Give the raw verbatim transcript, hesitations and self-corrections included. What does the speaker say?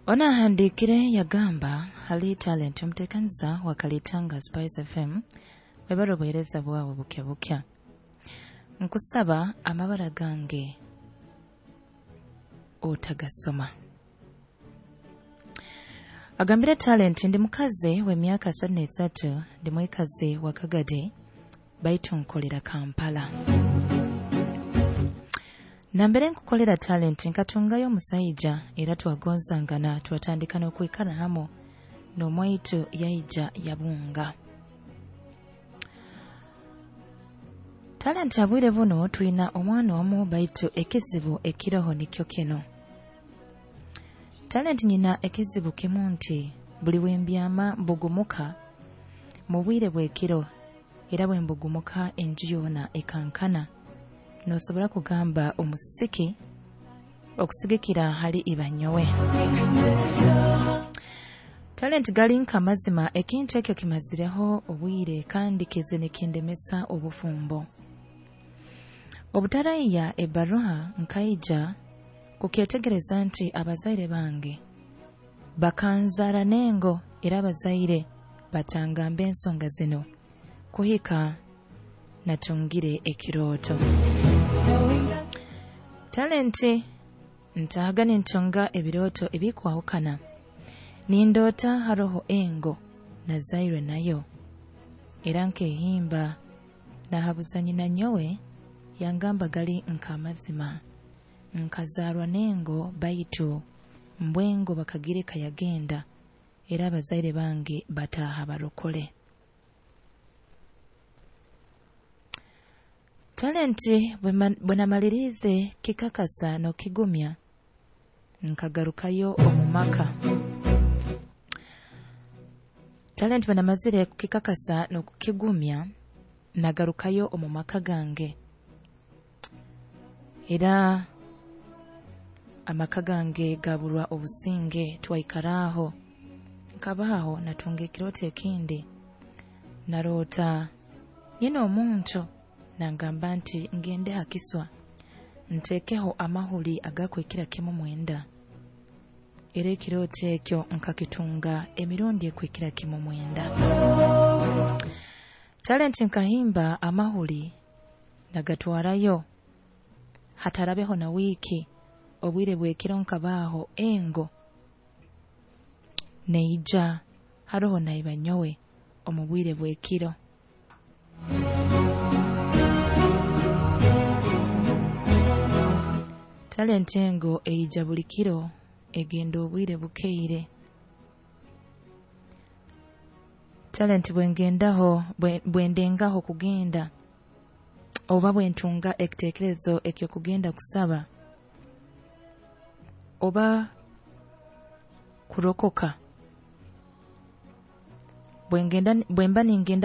Ono ahandiikire yagamba hali Talent omuteekaniza wa Kalitanga Spice F M webale obuheereza bwawe bukya bukya. Nkusaba amabara gange otagasoma. Agambire Talent ndi mukazi w'emyaka asatu n'esatu, ndi mwikazi wa Kagadi baitu nkolera Kampala. Nambere nkukolera Talent nkatungayo omusaija era twagonzangana twatandika n'okwikara hamu n'omwaitu yaija yabunga. Talent abwire buno twina omwana omu baitu ekizibu ekiroho nikyo kino. Talent nyina ekizibu kimu nti buli wembyama mbugumuka mu bwire bw'ekiro era bwe mbugumuka enju yoona ekankana. Nosobola kugamba omusiki okusigikira hali ibanyowe. Talent gali nka mazima ekintu ekyo kimazireho obwire kandi kize nikindemesa obufumbo. Obutaraiya ebaruha nkaija kukyetegereza nti abazaire bange bakanzara n'engo era abazaire batangamba ensonga zino kuhika natungire ekirooto. Talenti ntahaga nintunga ebirooto ebikwahukana. Nindoota haroho engo nazairwe nayo era nkehimba nahabuza nyina nyowe yangamba gali nk'amazima nkazarwa n'engo baitu mbwengo bakagireka yagenda era abazaire bange bataaha barokole. Talenti bwe namalirize kikakasa n'okigumya nkagarukayo omu maka. Talenti bwe namazire kukikakasa n'okukigumya nagarukayo omu maka gange era amaka gange gaburwa obusinge twaikaraho nkabaho natunga ekirooto ekindi naroota nyina omuntu nangamba nti ngende hakiswa ntekeho amahuli agakwikira kimu mwenda era ekirooto ekyo nkakitunga emirundi ekwikira kimu mwenda. Talenti nkahimba amahuli nagatwarayo hatarabeho na wiiki obwire bwekiro nkabaho engo neija haroho naiba nyowe omu bwire bwekiro. Talenti engo eija buli kiro egenda obwire bukeire. Talenti bwengendaho bwendengaho kugenda oba bwentunga ekitekerezo ekyo kugenda kusaba oba kurokoka bwengenda bwemba ningenda